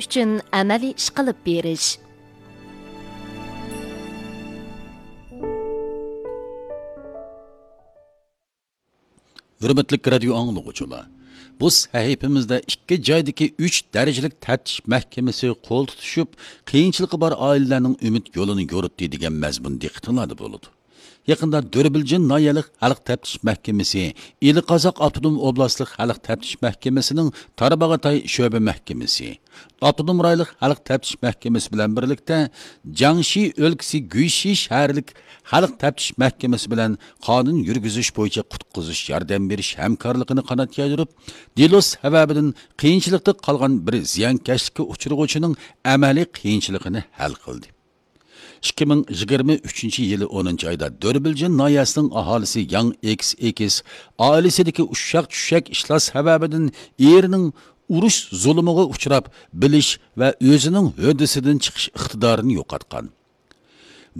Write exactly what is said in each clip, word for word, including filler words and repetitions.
ئۈچۈن ئەمەلىي ئىش قىلىپ بېرىش. ھۆرمەتلىك رادىيو ئاڭلىغۇچىلار، بۇ سەھىپىمىزدە ئىككى جايدىكى ئۈچ دەرىجىلىك تەپتىش مەھكىمىسى قول تۇتۇشۇپ، قىيىنچىلىقى بار ئائىلىلەرنىڭ ئۈمىد يولىنى يورۇتتى دېگەن مەزمۇن دىققىتىڭلاردا بولىدۇ. يېقىندا دۆربىلجىن ناھىيەلىك خەلق تەپتىش مەھكىمىسى، ئىلى قازاق ئاپتونوم ئوبلاستلىق خەلق تەپتىش مەھكىمىسىنىڭ تارباغاتاي شۆبە مەھكىمىسى، ئاپتونوم رايونلۇق خەلق تەپتىش مەھكىمىسى بىلەن بىرلىكتە جياڭشى ئۆلكىسى گۈيشى شەھەرلىك خەلق تەپتىش مەھكىمىسى بىلەن قانۇن يۈرگۈزۈش بويىچە قۇتقۇزۇش ياردەم بېرىش ھەمكارلىقىنى قانات يايدۇرۇپ، دېلو سەۋەبىدىن قىيىنچىلىقتا قالغان بىر زىيانكەشلىككە ئۇچرىغۇچىنىڭ ئەمەلىي قىيىنچىلىقىنى ھەل قىلدى. ئىككى مىڭ يىگىرمە ئۈچىنچى يىلى ئونىنچى ئايدا دۆربىلجىن ناھىيەسىنىڭ ئاھالىسى ياڭ ئېكس ئېكس ئائىلىسىدىكى ئۇششاق چۈششەك ئىشلار سەۋەبىدىن ئېرىنىڭ ئۇرۇش زۇلۇمىغا ئۇچراپ، بىلىش ۋە ئۆزىنىڭ ھۆددىسىدىن چىقىش ئىقتىدارىنى يوقاتقان.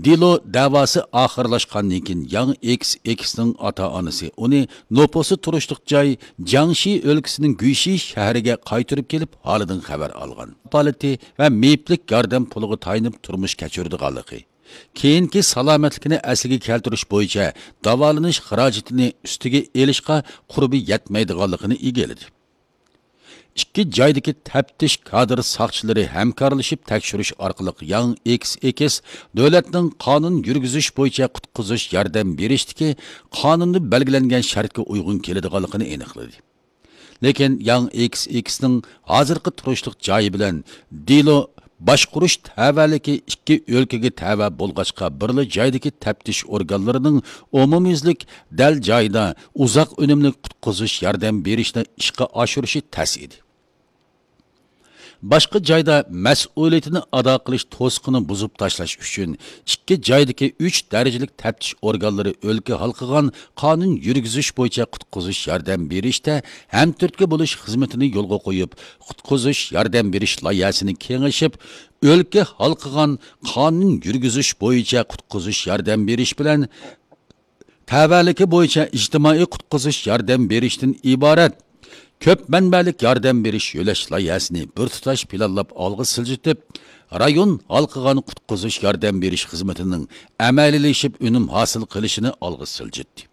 دېلو دەۋاسى ئاخىرلاشقاندىن كېيىن، ياڭ ئېكس ئېكسنىڭ ئاتا-ئانىسى ئۇنى نوپۇسى تۇرۇشلۇق جاي جياڭشى ئۆلكىسىنىڭ گۈيشى شەھىرىگە قايتۇرۇپ كېلىپ، ھالىدىن خەۋەر ئالغان. كاپالىتى ۋە مېيىپلىك ياردەم پۇلىغا تايىنىپ تۇرمۇش كەچۈرىدىغانلىقى، كېيىنكى سالامەتلىكىنى ئەسلىگە كەلتۈرۈش بويىچە داۋالىنىش خىراجىتىنى ئۈستىگە ئېلىشقا قۇربى يەتمەيدىغانلىقىنى ئىگىلىدى. ئىككى جايدىكى تەپتىش كادىر ساقچىلىرى ھەمكارلىشىپ تەكشۈرۈش ئارقىلىق ياڭ ئېكس ئېكس دۆلەتنىڭ قانۇن يۈرگۈزۈش بويىچە قۇتقۇزۇش ياردەم بېرىشتىكى قانۇندا بەلگىلەنگەن شەرتكە ئۇيغۇن كېلىدىغانلىقىنى ئېنىقلىدى. لېكىن ياڭ ئېكس ئېكسنىڭ ھازىرقى تۇرۇشلۇق جايى بىلەن دېلو باشقۇرۇش تەۋەلىكى ئىككى ئۆلكىگە تەۋە بولغاچقا، بىرلا جايدىكى تەپتىش ئورگانلىرىنىڭ ئومۇميۈزلۈك دەل جايىدا ئۇزاق ئۈنۈملۈك قۇتقۇزۇش ياردەم بېرىشنى ئىشقا ئاشۇرۇشى تەس ئىدى. باشقا جايدا مەسئۇلىيىتىنى ئادا قىلىش توسۇقىنى بۇزۇپ تاشلاش ئۈچۈن ئىككى جايدىكى ئۈچ دەرىجىلىك تەپتىش ئورگانلىرى ئۆلكە ھالقىغان قانۇن يۈرگۈزۈش بويىچە قۇتقۇزۇش ياردەم بېرىشتە ھەمتۈرتكە بولۇش خىزمىتىنى يولغا قويۇپ، قۇتقۇزۇش ياردەم بېرىش لايىھەسىنى كېڭىشىپ، ئۆلكە ھالقىغان قانۇن يۈرگۈزۈش بويىچە قۇتقۇزۇش ياردەم بېرىش بىلەن تەۋەلىكى بويىچە ئىجتىمائىي قۇتقۇزۇش ياردەم بېرىشتىن ئىبارەت كۆپ مەنبەلىك ياردەم بېرىش يۆلەش لايىھەسىنى بىر تۇتاش پىلانلاپ ئالغا سىلجىتىپ، رايون ھالقىغان قۇتقۇزۇش ياردەم بېرىش خىزمىتىنىڭ ئەمەلىيلىشىپ ئۈنۈم ھاسىل قىلىشىنى ئالغا سىلجىتتى.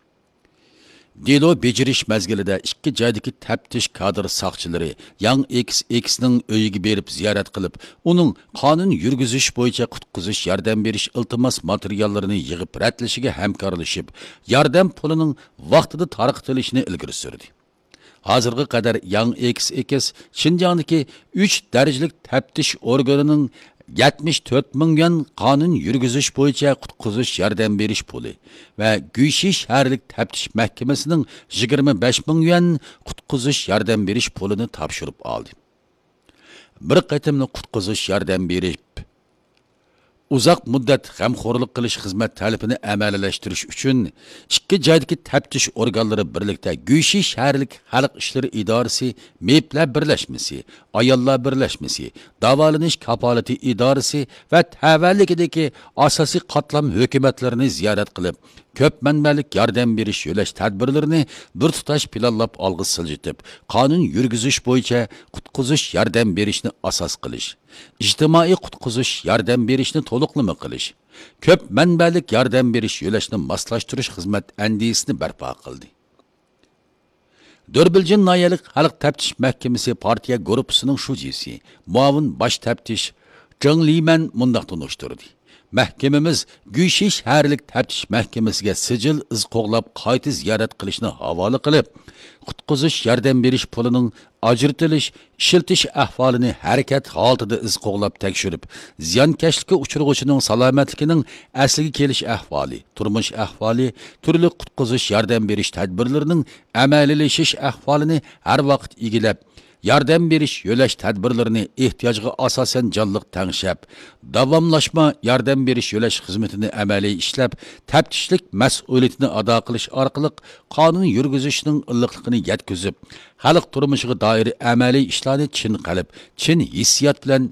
دېلو بېجىرىش مەزگىلىدە ئىككى جايدىكى تەپتىش كادىر ساقچىلىرى ياڭ ئېكس ئېكسنىڭ ئۆيىگە بېرىپ زىيارەت قىلىپ، ئۇنىڭ قانۇن يۈرگۈزۈش بويىچە قۇتقۇزۇش ياردەم بېرىش ئىلتىماس ماتېرىياللىرىنى يىغىپ رەتلىشىگە ھەمكارلىشىپ، ياردەم پۇلىنىڭ ۋاقتىدا تارقىتىلىشىنى ئىلگىرى سۈردى. ھازىرغا قەدەر ياڭ ئېكس ئېكس شىنجاڭدىكى ئۈچ دەرىجىلىك تەپتىش ئورگىنىنىڭ يەتمىش تۆت مىڭ يۈەن قانۇن يۈرگۈزۈش بويىچە قۇتقۇزۇش ياردەم بېرىش پۇلى ۋە گۈيشى شەھەرلىك تەپتىش مەھكىمىسىنىڭ يىگىرمە بەش مىڭ يۈەن قۇتقۇزۇش ياردەم بېرىش پۇلىنى تاپشۇرۇپ ئالدى. بىر قېتىملىق قۇتقۇزۇش ياردەم بېرىپ، ئۇزاق مۇددەت غەمخورلۇق قىلىش خىزمەت تەلىپىنى ئەمەلىيلەشتۈرۈش ئۈچۈن، ئىككى جايدىكى تەپتىش ئورگانلىرى بىرلىكتە گۈيشى شەھەرلىك خەلق ئىشلىرى ئىدارىسى، مېيىپلەر بىرلەشمىسى، ئاياللار بىرلەشمىسى، داۋالىنىش كاپالىتى ئىدارىسى ۋە تەۋەلىكىدىكى ئاساسىي قاتلام ھۆكۈمەتلىرىنى زىيارەت قىلىپ، كۆپ مەنبەلىك ياردەم بېرىش يۆلەش تەدبىرلىرىنى بىر تۇتاش پىلانلاپ ئالغا سىلجىتىپ، قانۇن يۈرگۈزۈش بويىچە قۇتقۇزۇش ياردەم بېرىشنى ئاساس قىلىش، ئىجتىمائىي قۇتقۇزۇش ياردەم بېرىشنى تولۇقلىما قىلىش، كۆپ مەنبەلىك ياردەم بېرىش يۆلەشنى ماسلاشتۇرۇش خىزمەت ئەندىزىسىنى بەرپا قىلدى. دۆربىلجىن ناھىيەلىك خەلق تەپتىش مەھكىمىسى پارتىيە گۇرۇپپىسىنىڭ شۇجىسى، مۇئاۋىن باش تەپتىش جېڭ لىمەن مۇنداق تونۇشتۇردى: مەھكىمىمىز گۈيشى شەھەرلىك تەپتىش مەھكىمىسىگە سىجىل ئىز قوغلاپ قايتا زىيارەت قىلىشنى ھاۋالە قىلىپ، قۇتقۇزۇش ياردەم بېرىش پۇلىنىڭ ئاجرىتىلىش، ئىشلىتىش ئەھۋالىنى ھەرىكەت ھالىتىدە ئىز قوغلاپ تەكشۈرۈپ، زىيانكەشلىككە ئۇچرىغۇچىنىڭ سالامەتلىكىنىڭ ئەسلىگە كېلىش ئەھۋالى، تۇرمۇش ئەھۋالى، تۈرلۈك قۇتقۇزۇش ياردەم بېرىش تەدبىرلىرىنىڭ ئەمەلىيلىشىش ئەھۋالىنى ھەر ۋاقىت ئىگىلەپ، ياردەم بېرىش يۆلەش تەدبىرلىرىنى ئېھتىياجغا ئاساسەن جانلىق تەڭشەپ، داۋاملاشما ياردەم بېرىش يۆلەش خىزمىتىنى ئەمەلىي ئىشلەپ، تەپتىشلىك مەسئۇلىيىتىنى ئادا قىلىش ئارقىلىق قانۇن يۈرگۈزۈشنىڭ ئىللىقلىقىنى يەتكۈزۈپ، خەلق تۇرمۇشىغا دائىر ئەمەلىي ئىشلارنى چىن قەلب، چىن ھېسسىيات بىلەن